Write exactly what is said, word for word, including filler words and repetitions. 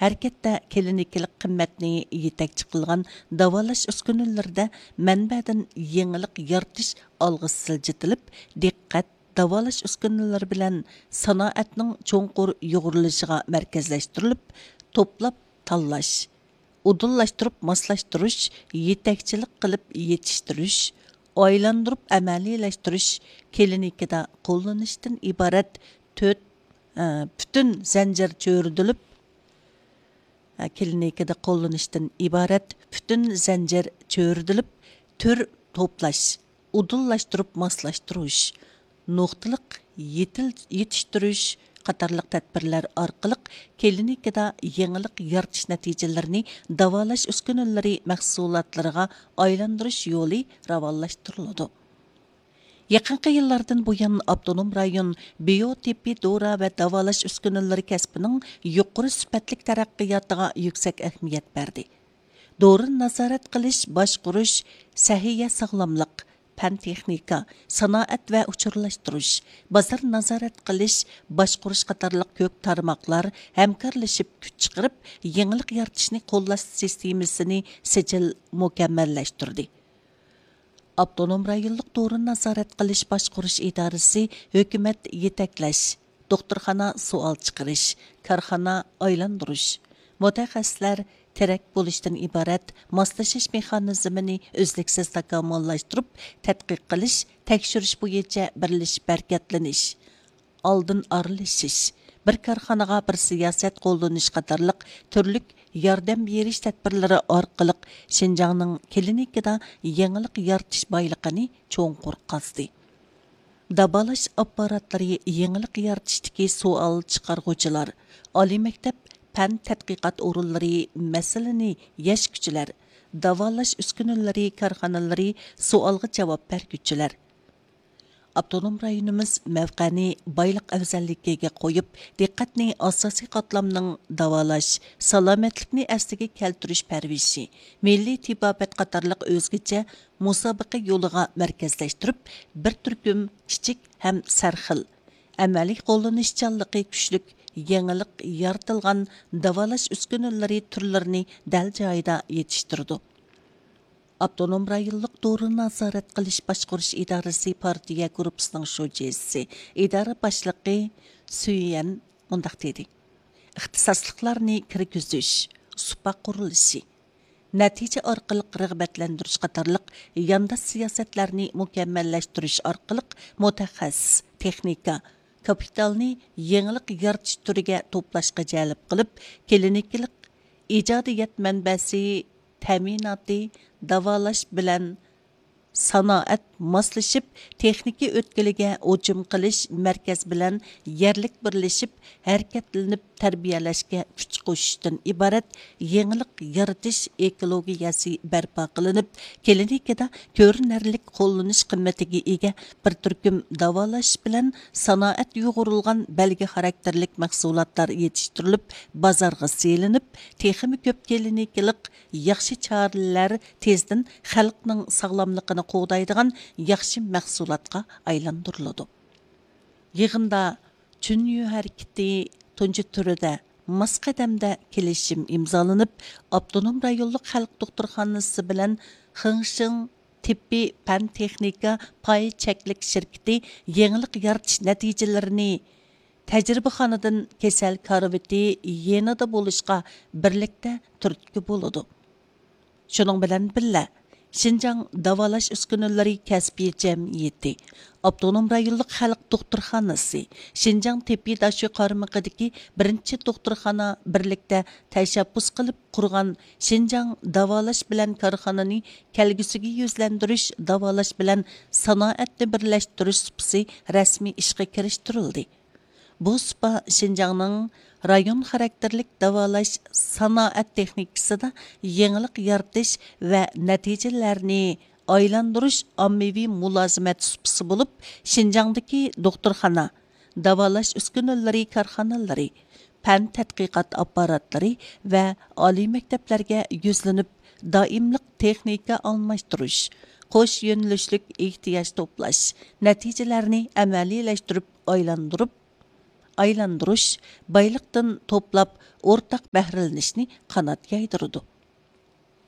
ھەرىكەتتە كلىنىكىلىق قىممەتنى يېتەكچى قىلغان داۋالاش ئۈسكۈنىلىرىدە مەنبەدىن يېڭىلىق يارىتىش ئالغا سىلجىتىلىپ، دىققەت داۋالاش ئۈسكۈنىلىرى بىلەن سانائەتنىڭ چوڭقۇر يۇغۇرۇلۇشىغا مەركەزلەشتۈرۈلۈپ، توپلاپ تاللاش، ئۇدۇللاشتۇرۇپ ماسلاشتۇرۇش، يېتەكچىلىك قىلىپ يېتىشتۈرۈش، ئايلاندۇرۇپ ئەمەلىيلەشتۈرۈش كلىنىكىدا قوللىنىشتىن ئىبارەت تۆت، ئە، پۈتۈن زەنجىر چۆرىدىلىپ، ئە، كلىنىكىدا قوللىنىشتىن ئىبارەت پۈتۈن زەنجىر چۆرىدىلىپ، تۈر توپلاش، ئۇدۇللاشتۇرۇپ ماسلاشتۇرۇش، نۇقتىلىق يېتىل-، يېتىشتۈرۈش قاتارلىق تەدبىرلەر ئارقىلىق كلىنىكىدا يېڭىلىق يارىتىش نەتىجىلىرىنى داۋالاش ئۈسكۈنىلىرى مەھسۇلاتلىرىغا ئايلاندۇرۇش يولى راۋانلاشتۇرۇلىدۇ. يېقىنقى يىللاردىن بۇيان، ئاپتونوم رايون بىيو تېببىي دورا ۋە داۋالاش ئۈسكۈنىلىرى كەسپىنىڭ يۇقىرى سۈپەتلىك تەرەققىياتىغا يۈكسەك ئەھمىيەت بەردى. دورىنى نازارەت قىلىش، باشقۇرۇش، سەھىيە ساغلاملىق، پەن تېخنىكا، سانائەت ۋە ئۇچۇرلاشتۇرۇش، بازار نازارەت قىلىش، باشقۇرۇش قاتارلىق كۆپ تارماقلار ھەمكارلىشىپ كۈچ چىقىرىپ، يېڭىلىق يارىتىشنى قوللاش سىستېمىسىنى سىجىل مۇكەممەللەشتۈردى. ئاپتونوم رايونلۇق دورىنى نازارەت قىلىش باشقۇرۇش ئىدارىسى ھۆكۈمەت يېتەكلەش، دوختۇرخانا سوئال چىقىرىش، كارخانا ئايلاندۇرۇش، مۇتەخەسسىسلەر تىرەك بولۇشتىن ئىبارەت ماسلىشىش مېخانىزمىنى ئۈزلۈكسىز تاكامۇللاشتۇرۇپ، تەتقىق قىلىش، تەكشۈرۈش بويىچە بىرلىشىپ ھەرىكەتلىنىش، ئالدىن ئارىلىشىش، بىر كارخانىغا بىر سىياسەت قوللىنىش قاتارلىق تۈرلۈك ياردەم بېرىش تەدبىرلىرى ئارقىلىق شىنجاڭنىڭ كلىنىكىدا يېڭىلىق يارىتىش بايلىقىنى چوڭقۇر قازدى. داۋالاش ئاپپاراتلىرى يېڭىلىق يارىتىشتىكى سوئال چىقارغۇچىلار، ئالىي مەكتەپ پەن تەتقىقات ئورۇنلىرى مەسىلىنى يەشكۈچىلەر، داۋالاش ئۈسكۈنىلىرى كارخانىلىرى سوئالغا جاۋاب بەرگۈچىلەر. ئاپتونوم رايونىمىز مەۋقەنى بايلىق ئەۋزەللىكىگە قويۇپ، دىققەتنى ئاساسىي قاتلامنىڭ داۋالاش، سالامەتلىكنى ئەسلىگە كەلتۈرۈش پەرۋىشى، مىللىي تېبابەت قاتارلىق ئۆزگىچە مۇسابىقە يولىغا مەركەزلەشتۈرۈپ، بىر تۈركۈم كىچىك ھەم سەرخىل، ئەمەلىي قوللىنىشچانلىقى كۈچلۈك، يېڭىلىق يارىتىلغان داۋالاش ئۈسكۈنىلىرى تۈرلىرىنى دەل جايىدا يېتىشتۈرىدۇ. ئاپتونوم رايونلۇق دورىنى نازارەت قىلىش باشقۇرۇش ئىدارىسى پارتىيە گۇرۇپپىسىنىڭ شۇجىسى، ئىدارە باشلىقى سۈيۈەن مۇنداق دېدى: ئىختىساسلىقلارنى كىرگۈزۈش، سۇپا قۇرۇلۇشى، نەتىجە ئارقىلىق رىغبەتلەندۈرۈش قاتارلىق يانداش سىياسەتلەرنى مۇكەممەللەشتۈرۈش ئارقىلىق مۇتەخەسسىس، تېخنىكا، كاپىتالنى يېڭىلىق يارىتىش تۈرىگە توپلاشقا جەلپ قىلىپ، كلىنىكىلىق ئىجادىيەت مەنبەسى تەمىناتى، داۋالاش بىلەن سانائەت ماسلىشىپ، تېخنىكا ئۆتكىلىگە ھۇجۇم قىلىش مەركەز بىلەن يەرلىك بىرلىشىپ ھەرىكەتلىنىپ تەربىيەلەشكە كۈچ قوشۇشتىن ئىبارەت يېڭىلىق يارىتىش ئېكولوگىيەسى بەرپا قىلىنىپ، كلىنىكىدا كۆرۈنەرلىك قوللىنىش قىممىتىگە ئىگە بىر تۈركۈم داۋالاش بىلەن سانائەت يۇغۇرۇلغان بەلگە خاراكتېرلىك مەھسۇلاتلار يېتىشتۈرۈلۈپ، بازارغا سېلىنىپ، تېخىمۇ كۆپ كلىنىكىلىق ياخشى چارىلەر تېزدىن خەلقنىڭ ساغلاملىقىنى قوغدايدىغان ياخشى مەھسۇلاتقا ئايلاندۇرۇلىدۇ. يىغىندا چۈنيۈ ھەرىكىتى تۇنجى تۈرىدە ماس قەدەمدە كېلىشىم ئىمزالىنىپ، ئاپتونوم رايونلۇق خەلق دوختۇرخانىسى بىلەن خېڭشىڭ تېببىي پەن تېخنىكا پاي چەكلىك شىركىتى يېڭىلىق يارىتىش نەتىجىلىرىنى تەجرىبىخانىدىن كېسەل كارىۋىتى يېنىدا بولۇشقا بىرلىكتە تۈرتكە بولىدۇ. شۇنىڭ بىلەن بىللە، شىنجاڭ داۋالاش ئۈسكۈنىلىرى كەسپىي جەمئىيىتى، ئاپتونوم رايونلۇق خەلق دوختۇرخانىسى، شىنجاڭ تېببىي داشۆ قارمىقىدىكى بىرىنچى دوختۇرخانا بىرلىكتە تەشەببۇس قىلىپ قۇرغان شىنجاڭ داۋالاش بىلەن كارخانىنى كەلگۈسىگە يۈزلەندۈرۈش، داۋالاش بىلەن سانائەتنى بىرلەشتۈرۈش سۇپىسى رەسمىي ئىشقا كىرىشتۈرۈلدى. بۇ سۇپا شىنجاڭنىڭ رايون خاراكتېرلىك داۋالاش سانائەت تېخنىكىسىدا يېڭىلىق يارىتىش ۋە نەتىجىلەرنى ئايلاندۇرۇش ئاممىۋى مۇلازىمەت سۇپىسى بولۇپ، شىنجاڭدىكى دوختۇرخانا، داۋالاش ئۈسكۈنىلىرى كارخانىلىرى، پەن تەتقىقات ئاپپاراتلىرى ۋە ئالىي مەكتەپلەرگە يۈزلىنىپ، دائىملىق تېخنىكا ئالماشتۇرۇش، قوش يۆنىلىشلىك ئېھتىياج توپلاش، نەتىجىلەرنى ئەمەلىيلەشتۈرۈپ ئايلاندۇرۇپ، ئايلاندۇرۇش، بايلىقتىن توپلاپ ئورتاق بەھرىلىنىشنى قانات يايدۇرىدۇ.